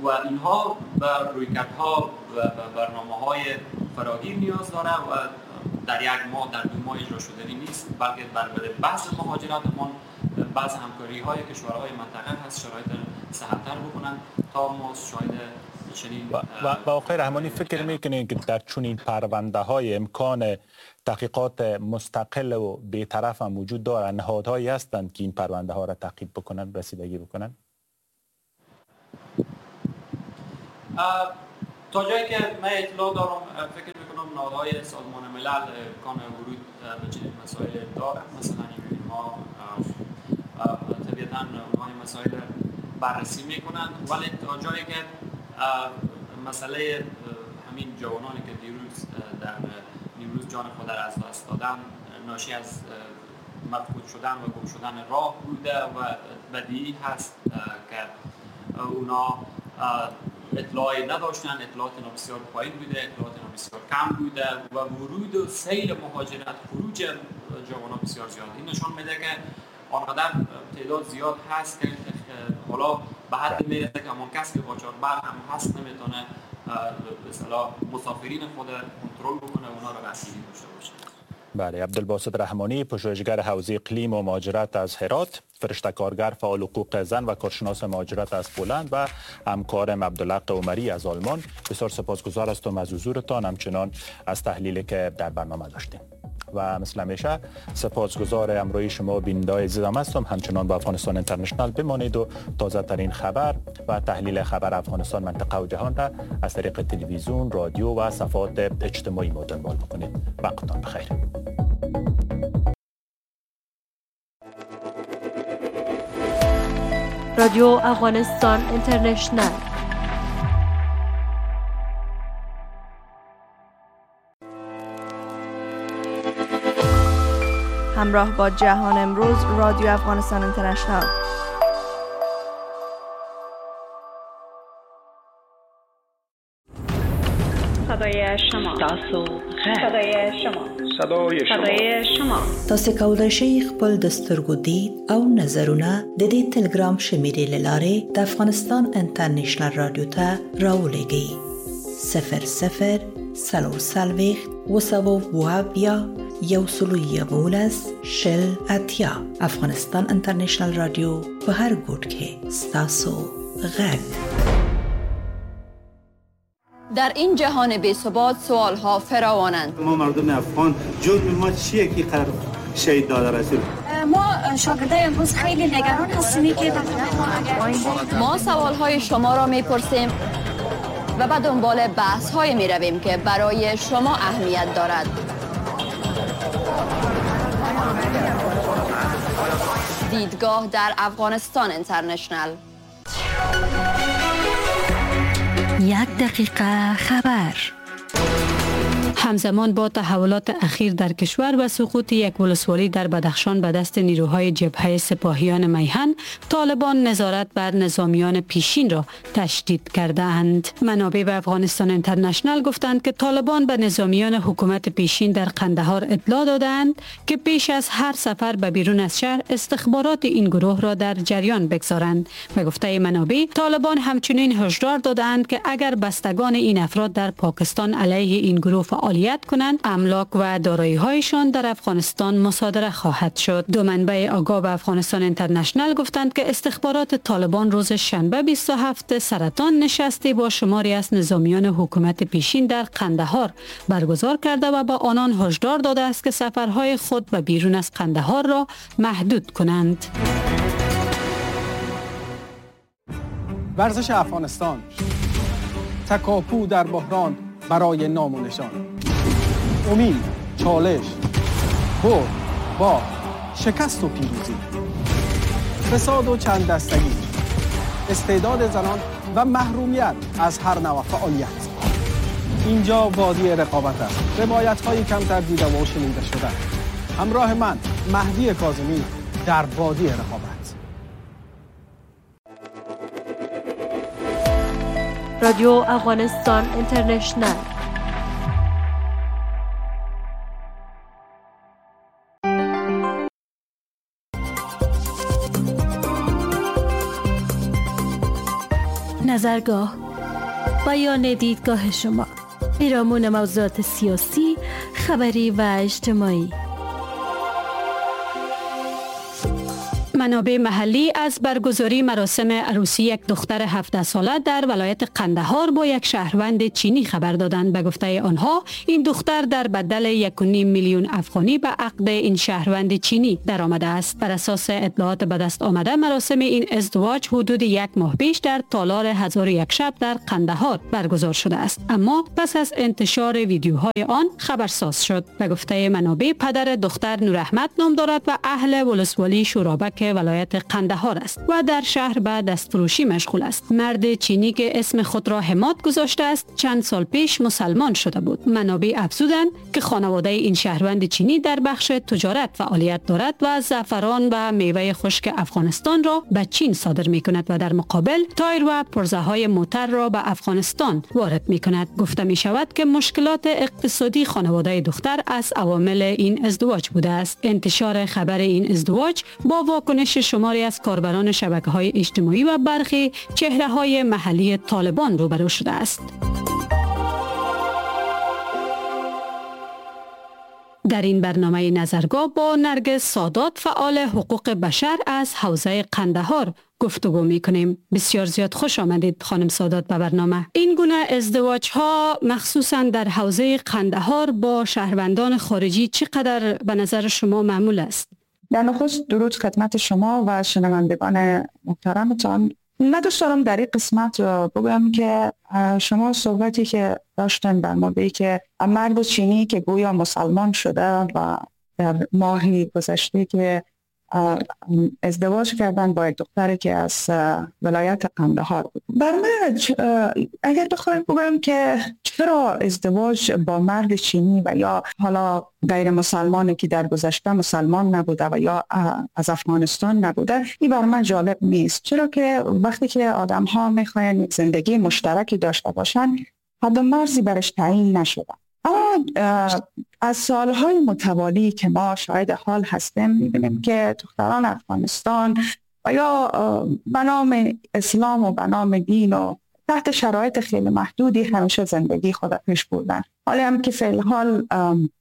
و اینها بر رویکردها و برنامه‌های فراگیر نیاز داره و در یک ماه، در 2 ماه اجرا شدنی نیست، بلکه بر بحث مهاجرت ما بعض همکاری های کشورهای منطقه هست شرایط سهل‌تر بکنن تا ما شاهد چنین. و آقای رحمانی، فکر میکنید که در چنین پرونده های امکان تحقیقات مستقل و بی‌طرف هم وجود دارند؟ نهادهایی هستند که این پرونده ها را تعقیب بکنن، رسیدگی بکنن؟ تا جایی که من اطلاع دارم فکر میکنم نهادهای سازمان ملل امکان ورود به چنین مسائل دارند. مثلا ما طبیعتاً اونها این مسائل بررسی میکنند، ولی تا جایی که مسئله همین جوانانی که دیروز در نیمروز جان خود را از دست دادن ناشی از مفقود شدن و گم شدن راه بوده و بدیهی هست که اونا اطلاعی نداشتن، اطلاعات اینا بسیار پایین بوده، اطلاعات اینا بسیار کم بوده و ورود و سیل مهاجرت، خروج جوانان بسیار زیاد. این نشان میده که آنقدر تعداد زیاد هست که حالا به حد میرسه که همان کس که قاچاقبر هم هست نمیتونه به اصطلاح مسافرین خود کنترل بکنه، اونا رو رسیدگی داشته باشه. بله، عبدالباسط رحمانی، پژوهشگر حوزه اقلیم و مهاجرت از هرات، فرشته کارگر، فعال حقوق زن و کارشناس مهاجرت از پولند و همکارم عبدالحق عمری از آلمان، بسیار سپاسگزار هستم از حضورتان، همچنان از تحلیلی که در برنامه داشتیم. و مثل همیشه سپاسگزار همراهی شما بیننده‌های عزیزم هستم. همچنان با افغانستان اینترنشنال بمانید و تازه ترین خبر و تحلیل خبر افغانستان، منطقه و جهان را از طریق تلویزیون، رادیو و صفحات اجتماعی ما دنبال بکنید. وقتتان بخیر. رادیو افغانستان اینترنشنال. همراه با جهان امروز، رادیو افغانستان اینترنشنال. صدای شما، صدای شما، صدای شما. تاسو کولای شئ خپل د سترګو دید او نظرونه د دې تلګرام شمیرې لارې د افغانستان انټرنشنل رادیو ته راولېږئ. 00 40 270 111 شل 80. افغانستان انټرنشنل رادیو په هر ګوټ کې ستاسو غږ. در این جهان بی ثبات سوال ها فراوانند. ما مردم افغان جرم ما چیه که قرار شهید داده رسید؟ ما شاگردای امروز خیلی نگران هستیم که ما سوال های شما را میپرسیم و به دنبال بحث های می رویم که برای شما اهمیت دارد. دیدگاه در افغانستان اینترنشنال. یک دقیقه خبر. همزمان با تحولات اخیر در کشور و سقوط یک ولسوالی در بدخشان به دست نیروهای جبهه سپاهیان میهن، طالبان نظارت بر نظامیان پیشین را تشدید کرده‌اند. منابع به افغانستان اینترنشنال گفتند که طالبان به نظامیان حکومت پیشین در قندهار اطلاع دادند که پیش از هر سفر به بیرون از شهر استخبارات این گروه را در جریان بگذارند. به گفته منابع، طالبان همچنین هشدار دادند که اگر بستگان این افراد در پاکستان علیه این گروه فعالیت کنند، املاک و دارایی‌هایشان در افغانستان مصادره خواهد شد. دو منبع آگاه به افغانستان اینترنشنال گفتند که استخبارات طالبان روز شنبه 27 سرطان نشستی با شماری از نظامیان حکومت پیشین در قندهار برگزار کرده و با آنان هشدار داده است که سفرهای خود به بیرون از قندهار را محدود کنند. ورزش افغانستان، تکاپو در بحران برای نام و نشان، امید، چالش، برد، با شکست و پیروزی، فساد و چند دستگی، استعداد زنان و محرومیت از هر نوع فعالیت. اینجا وادی رقابت است، روایت‌های کمتر دیده و شنیده شده. همراه من مهدی کاظمی در وادی رقابت. رادیو افغانستان اینترنشنال. نظرگاه، بیان دیدگاه شما پیرامون موضوعات سیاسی، خبری و اجتماعي. منابع محلی از برگزاری مراسم عروسی یک دختر 17 ساله در ولایت قندهار با یک شهروند چینی خبر دادند. به گفته آنها این دختر در بدل 1.5 میلیون افغانی به عقد این شهروند چینی درآمده است. بر اساس اطلاعات به دست آمده مراسم این ازدواج حدود 1 ماه پیش در تالار 1001 شب در قندهار برگزار شده است، اما پس از انتشار ویدیوهای آن خبرساز شد. به گفته منابع پدر دختر نوراحمد نام دارد و اهل ولسوالی شورابک ولایت قندهار است و در شهر به دستفروشی مشغول است. مرد چینی که اسم خود را حماد گذاشته است چند سال پیش مسلمان شده بود. منابع افزودند که خانواده این شهروند چینی در بخش تجارت فعالیت دارد و زعفران و میوه خشک افغانستان را به چین صادر می کند و در مقابل تایر و پرزه های موتر را به افغانستان وارد می کند. گفته می شود که مشکلات اقتصادی خانواده دختر از عوامل این ازدواج بوده است. انتشار خبر این ازدواج با واکنش شماری از کاربران شبکه‌های اجتماعی و برخی چهره‌های محلی طالبان روبرو شده است. در این برنامه نظرگاه با نرگس سادات، فعال حقوق بشر از حوزه قندهار گفتگو میکنیم. بسیار زیاد خوش آمدید خانم سادات به برنامه. این گونه ازدواج ها مخصوصا در حوزه قندهار با شهروندان خارجی چقدر به نظر شما معمول است؟ در نخست درود خدمت شما و شنوندگان محترمتان. من دوست دارم در این قسمت بگم که شما صحبتی که داشتن در مورد که مرد چینی که گویا مسلمان شده و در ماهی گذشته که ازدواج کردن با یک دختری که از ولایت قندهار بود. بر من اگر بخوایم بگم که چرا ازدواج با مرد چینی و یا حالا غیر مسلمانی که در گذشته مسلمان نبوده و یا از افغانستان نبوده، این بر من جالب نیست. چرا که وقتی که آدم ها میخواین زندگی مشترکی داشته باشن، حد و مرزی برش تعیین نشده. اما از سالهای متوالی که ما شاهد حال هستیم، می‌بینیم که دختران افغانستان و یا به نام اسلام و به نام دین و تحت شرایط خیلی محدودی همیشه زندگی خود پیش بردن. حالا هم که فعل حال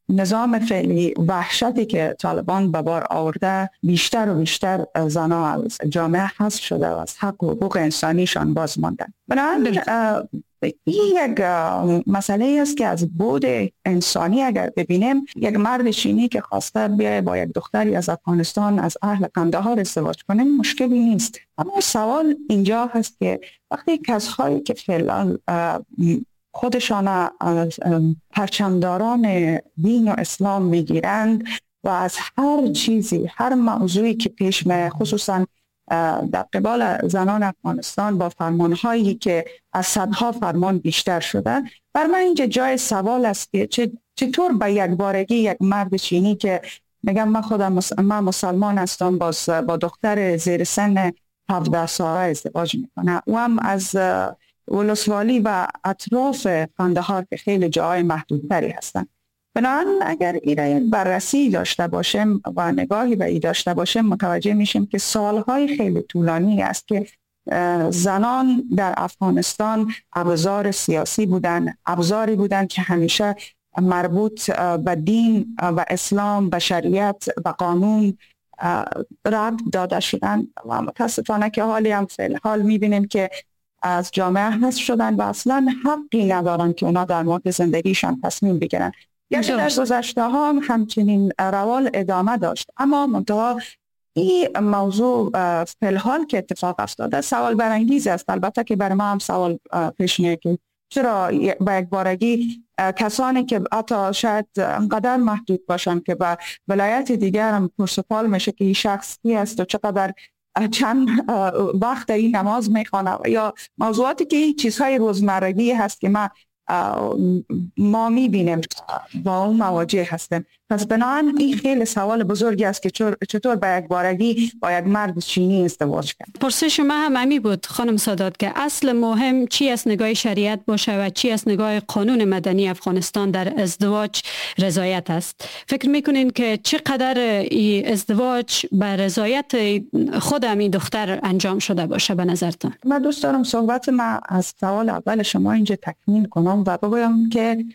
نظام فعلی وحشتی که طالبان به بار آورده، بیشتر و بیشتر زنها از جامعه حذف شده و از حق و حقوق انسانیشان باز ماندن. بنابراین این یک مسئله است که از بعد انسانی اگر ببینیم، یک مرد چینی که خواسته بیای با یک دختری از افغانستان از اهل قندهار ازدواج کنه مشکلی نیست. اما سوال اینجا هست که وقتی کسایی که فعلا خودشان پرچمداران دین و اسلام میگیرند و از هر چیزی، هر موضوعی که پیش میاد، خصوصا در قبال زنان افغانستان با فرمانهایی که از صدها فرمان بیشتر شده، بر من اینجا جای سوال است که چطور به یک بارگی یک مرد چینی که میگم من خودم من مسلمان هستم باز با دختر زیر سن 17 ساله ازدواج میکنه، او هم از ولسوالی و اطراف قندهار که خیلی جاهای محدودتری هستند. بنابراین اگر این بررسی داشته باشیم و نگاهی به این داشته باشیم، متوجه میشیم که سالهای خیلی طولانی است که زنان در افغانستان ابزار سیاسی بودن، ابزاری بودن که همیشه مربوط به دین و اسلام و شریعت و قانون ربط داده شدن و متاسفانه که حالی هم فعل حال میبینیم که از جامعه حذف شدن و اصلا حقی ندارن که اونا در مورد زندگیشان تصمیم بگیرن. یعنی در گذشته ها هم همچنین روال ادامه داشت، اما منتها این موضوع فعل که اتفاق افتاده سوال برانگیز است. البته که برای ما هم سوال پیش میاد که چرا با یک بارگی کسانی که حتی شاید انقدر محدود باشن که به ولایت دیگر هم پرسپال میشه که این شخص کی است و چقدر چند وقت این نماز میخوانه یا موضوعاتی که این چیزهای روزمرگی هست که ما میبینیم با اون مواجه هستیم. پس بنابراین این خیلی سوال بزرگی است که چطور به یک بارگی با یک مرد چینی ازدواج کرد. پرسش ما هم همی بود خانم سادات که اصل مهم چی از نگاه شریعت باشه و چی از نگاه قانون مدنی افغانستان در ازدواج رضایت است. فکر میکنین که چقدر این ازدواج به رضایت خود این دختر انجام شده باشه به نظرتان؟ من دوست دارم صحبت ما از سوال اول شما اینجا تکمیل کنم و بگویم که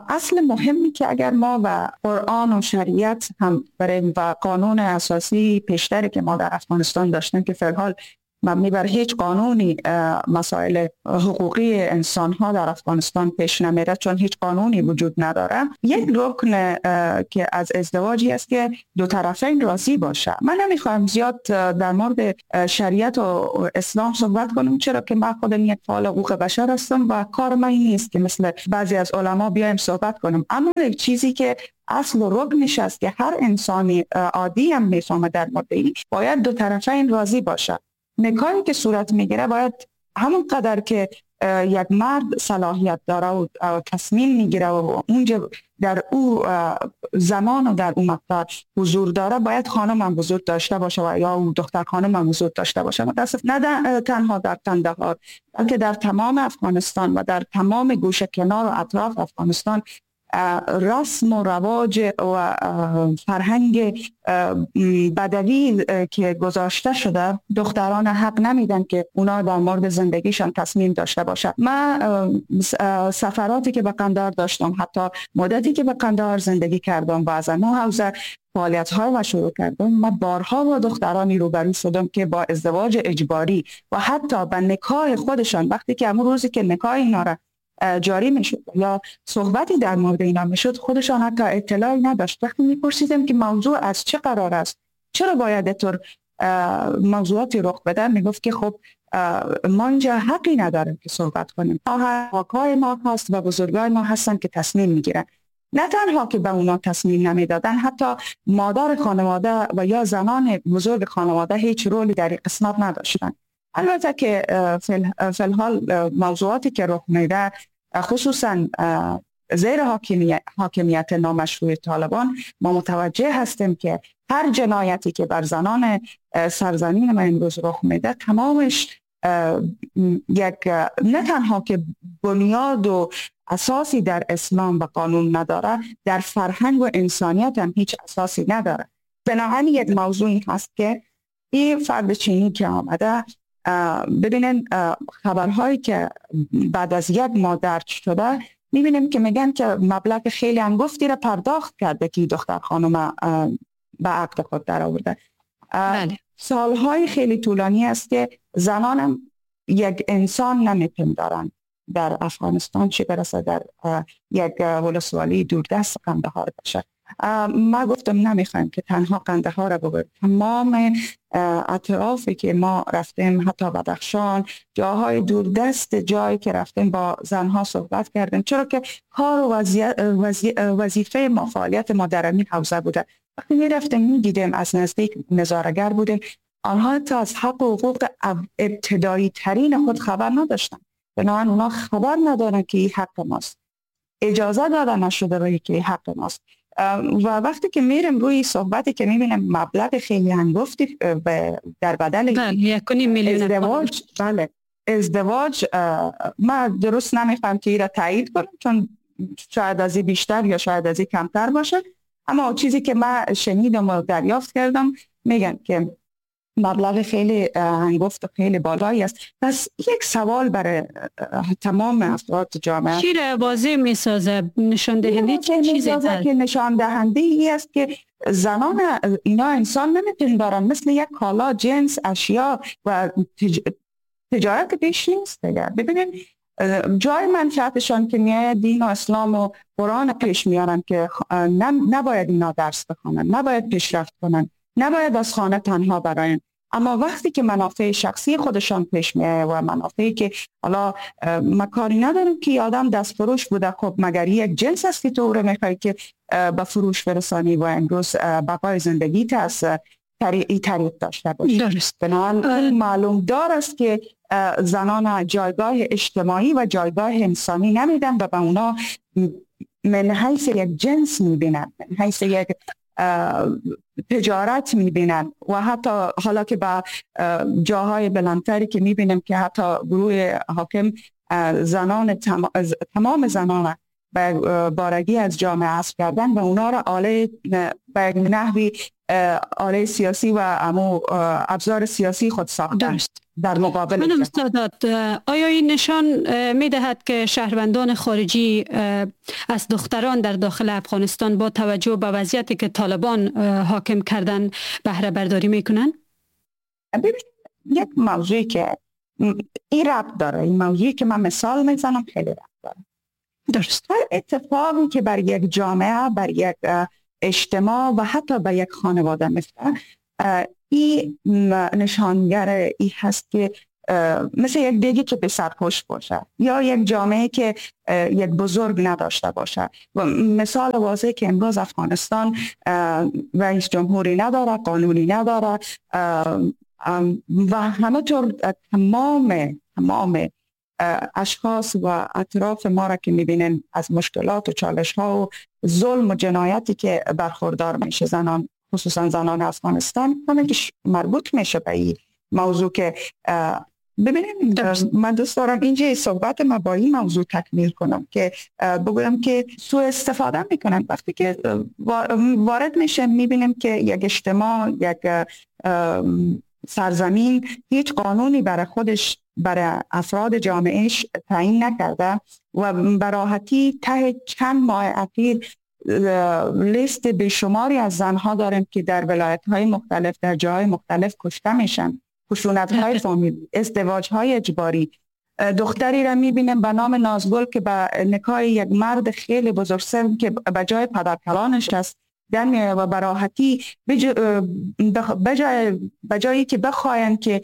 اصل مهمی که اگر ما و قرآن و شریعت هم بریم و قانون اساسی پیشتری که ما در افغانستان داشتیم که فعلا مبنی بر هیچ قانونی مسائل حقوقی انسان‌ها در افغانستان پیش نمیره، چون هیچ قانونی وجود نداره. یک رکن که از ازدواجی است که دو طرفین راضی باشه. من نمیخوایم زیاد در مورد شریعت و اسلام صحبت کنم، چرا که من خودم یک فعال حقوق بشر هستم و کار من این نیست که مثل بعضی از علما بیایم صحبت کنم. اما یک چیزی که اصل و رکنش است که هر انسانی عادی هم میفهمه در مورد این، باید دو طرفین راضی باشه. نکاحی که صورت میگیره باید همون قدر که یک مرد صلاحیت داره و تصمیم میگیره و اونجا در او زمان و در او مقطع حضور داره، باید خانم هم حضور داشته باشه و یا او دختر خانم هم حضور داشته باشه. متاسف نه تنها در قندهار بلکه در تمام افغانستان و در تمام گوشه کنار و اطراف افغانستان رسم و رواج و فرهنگ بدوی که گذاشته شده، دختران حق نمیدن که اونا در مورد زندگیشان تصمیم داشته باشن. من سفراتی که به قندهار داشتم، حتی مدتی که به قندهار زندگی کردم و از اون حوزه فعالیت ها و شروع کردم، من بارها با دخترانی روبرو شدم که با ازدواج اجباری و حتی به نکاح خودشان، وقتی که امروز روزی که نکاح اینا را جاری میشد یا صحبتی در مورد اینا میشد، خودشان حتی اطلاعی نداشت. وقتی میپرسیدم که موضوع از چه قرار است، چرا باید اینطور موضوعاتی رخ بده، میگفت که خب ما اینجا حقی نداریم که صحبت کنیم، آقای ما هست و بزرگای ما هستن که تصمیم میگیرن. نه تنها که به اونا تصمیم نمیدادن، حتی مادر خانواده و یا زنان بزرگ خانواده هیچ رولی در این قسمت نداشتن. البته که فی‌الحال موضوعاتی که رخ میده، خصوصا زیر حاکمیت نامشروع طالبان، ما متوجه هستیم که هر جنایتی که بر زنان سرزمین ما امروز رخ میده، تمامش یک نه تنها که بنیاد و اساسی در اسلام و قانون نداره، در فرهنگ و انسانیت هم هیچ اساسی نداره. بنابراین یک موضوعی هست که این فرد چینی که آمده، ببینن خبرهایی که بعد از یک ماه درج شده، میبینیم که میگن که مبلغ خیلی انگفتی را پرداخت کرده که دختر خانم به عقد خود در آورده. بله. سالهای خیلی طولانی است که زنانم یک انسان نمیپندارن در افغانستان، چه برسه در یک ولسوالی دوردست قندهار باشه. ما گفتم نمیخوایم که تنها قندهار را ببریم، تمام اطرافی که ما رفتیم، حتی بدخشان، جاهای دوردست، جایی که رفتیم با زنها صحبت کردیم، چرا که کار و وظیفه ما، فعالیت ما در این حوزه بوده. وقتی میرفتیم میدیدیم، از نزدیک نظاره‌گر بودیم، آنها تا از حق و حقوق ابتدایی ترین خود خبر نداشتن. بنابراین اونا خبر ندارن که این حق ماست، اجازه داده نشده روی که این حق ماست. و وقتی که میریم روی صحبتی که میبینم مبلغ خیلی هنگفتی در بدل 1.5 میلیون ازدواج، بله ازدواج، من درست نمیفهم که این را تایید کنم، چون شاید از این بیشتر یا شاید از این کمتر باشه، اما چیزی که من شنیدم و دریافت کردم، میگن که مبلغ خیلی هنگفت و خیلی بالایی است. پس یک سوال برای تمام افراد جامعه، چی را بازی میسازه؟ نشان دهنده چیزی که نشان دهنده ای است که زنان اینا انسان نمیپندارن، مثل یک کالا، جنس، اشیا و تجارت پیش نیست دیگه. ببینید جای منفعتشان که میاد دین و اسلام و قرآن پیش میارن که نباید اینا درس بخوانن، نباید پیشرفت کنن، نباید از خانه تنها براین. اما وقتی که منافع شخصی خودشان پیش میاد و منافعی که حالا ما کاری ندارم که آدم دست فروش بوده، خب مگر یک جنس است که تو رو میخوای که به فروش برسانی و امروز بقای زندگیت از طریق داشته باشی. درست. بنابراین معلوم دار است که زنان جایگاه اجتماعی و جایگاه انسانی نمیدن و به اونا من حیث یک جنس میبینن، من حیث یک تجارت میبینن و حتی حالا که با جاهای بلندتری که میبینیم که حتی گروه حاکم زنان تمام زنان به بارگی از جامعه حذف کردن و اونا را آله به نحوی آله سیاسی و ابزار سیاسی خود ساختن در مقابل. خانم سادات، آیا این نشان میدهد که شهروندان خارجی از دختران در داخل افغانستان با توجه به وضعیتی که طالبان حاکم کردن بهره برداری میکنن؟ ببینید، یک موضوعی که این ربط داره، این موضوعی که من مثال میزنم خیلی ربط داره. درست. هر اتفاقی که بر یک جامعه، بر یک اجتماع و حتی بر یک خانواده میفته، این نشانگر این هست که مثل یک دیگی که به سرپوش باشه یا یک جامعه که یک بزرگ نداشته باشه. و مثال واضح که امروز افغانستان رئیس جمهوری نداره، قانونی نداره و همه طور تمام اشخاص و اطراف ما را که میبینن از مشکلات و چالش ها و ظلم و جنایتی که برخوردار میشه زنان، خصوصا زنان افغانستان، همه که مربوط میشه به این موضوع که ببینیم. من دوست دارم اینجا صحبت ما با این موضوع تکمیل کنم که بگویم که سوء استفاده میکنن. وقتی که وارد میشه میبینیم که یک اجتماع، یک سرزمین هیچ قانونی برای خودش، برای افراد جامعهش تعیین نکرده و براحتی ته چند ماه اخیر لیست بیشماری از زنها داریم که در ولایت‌های مختلف، در جاهای مختلف کشته میشن، خشونت‌های فامیلی، ازدواج‌های اجباری. دختری را میبینم به نام نازگل که به نکاح یک مرد خیلی بزرگسن که به جای پدرکلانش است در میاد و براحتی به جایی که بخواین که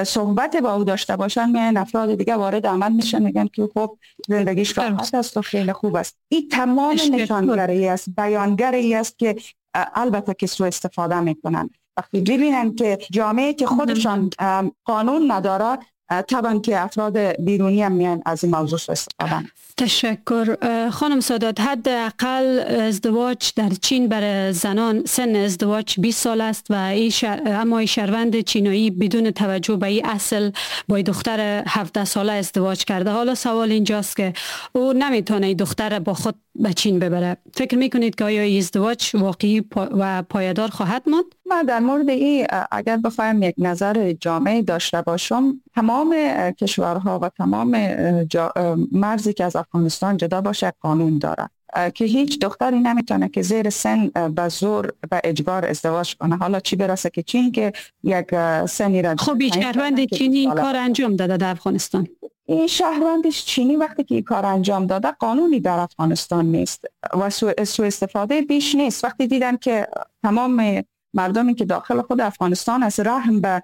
صحبت با او داشته باشن، میان افراد دیگه وارد عمل میشن، میگن که خب زندگیش راحت است و خیلی خوب است. این تمام نشانگری است، بیانگری است که البته که سوء استفاده میکنن. وقتی ببینن که جامعه که خودشان قانون نداره، طبعا که افراد بیرونی هم میان از این موضوع سوء استفاده. تشکر. خانم سادات، حداقل ازدواج در چین برای زنان سن ازدواج 20 سال است و اما این شهروند چینایی بدون توجه به این اصل با دختر 17 ساله ازدواج کرده. حالا سوال اینجاست که او نمیتونه این دختر با خود به چین ببره. فکر میکنید که آیا این ازدواج واقعی و پایدار خواهد ماند؟ من در مورد این اگر بخوایم یک نظر جامعه داشته باشم، تمام کشورها و تمام مرزی که از افغانستان جدا باشه قانون داره که هیچ دختری نمیتونه که زیر سن به زور و اجبار ازدواج کنه. حالا چی برسه که چین که یک سنی را. خب شهروند چینی این کار انجام داده در افغانستان. این شهروند چینی وقتی که این کار انجام داده، قانونی در افغانستان نیست و سوء استفاده بیش نیست. وقتی دیدن که تمام مردمی که داخل خود افغانستان از رحم به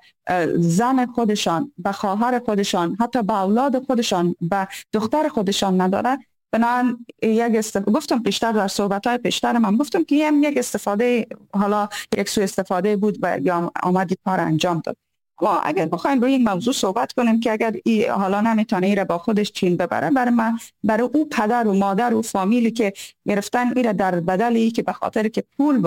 زن خودشان، به خواهر خودشان، حتی به اولاد خودشان، به دختر خودشان نداره، بنابراین یک گفتم پیشتر در صحبت‌های پیشتر من گفتم که هم یک استفاده، حالا یک سوء استفاده بود و یا آمدی کار انجام داد. ما اگر بخوایم روی این موضوع صحبت کنیم که اگر ای حالا نمیتونه ای را با خودش چین ببره، برای من، برای او پدر و مادر و فامیلی که گرفتن ای را در بدل ای که به خاطر که پول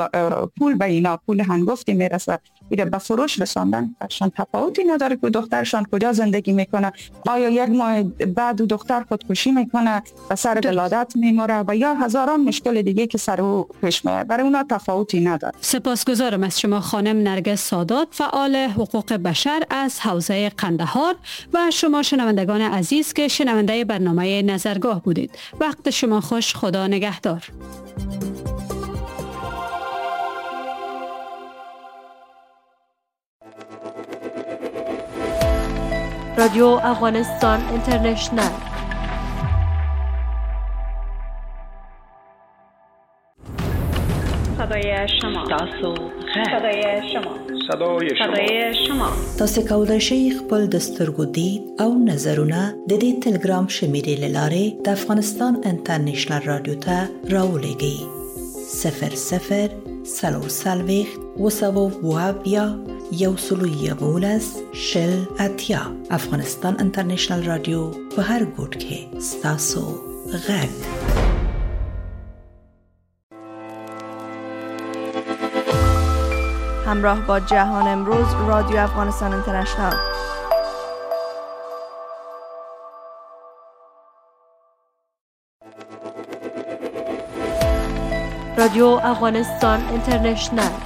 به اینا پول هنگفتی میرسه ای را به فروش رساندن، برشان تفاوتی نداره که دخترشان کجا زندگی میکنه، آیا یک ماه بعد دختر خودکشی میکنه و سر ولادت میموره و یا هزاران مشکل دیگه که سر او پیش میاد، برای اونا تفاوتی نداره. سپاسگزارم از شما خانم نرگس سادات، فعال حقوق بشر از حوزه قندهار، و شما شنوندگان عزیز که شنونده برنامه نظرگاه بودید. وقت شما خوش، خدا نگهدار. رادیو افغانستان اینترنشنال. صدای شما، صدای شما، صدای شما. تاسو کولی شئ خپل د سترګو دید او نظرونه د دې تلګرام شمیرې لارې د افغانستان انټرنشنل رادیو ته راولېږئ. 00 44 7 111 شل 80. افغانستان انټرنشنل رادیو په هر ګوټ کې ستاسو غږ. همراه با جهان امروز، رادیو افغانستان اینترنشنال. رادیو افغانستان اینترنشنال.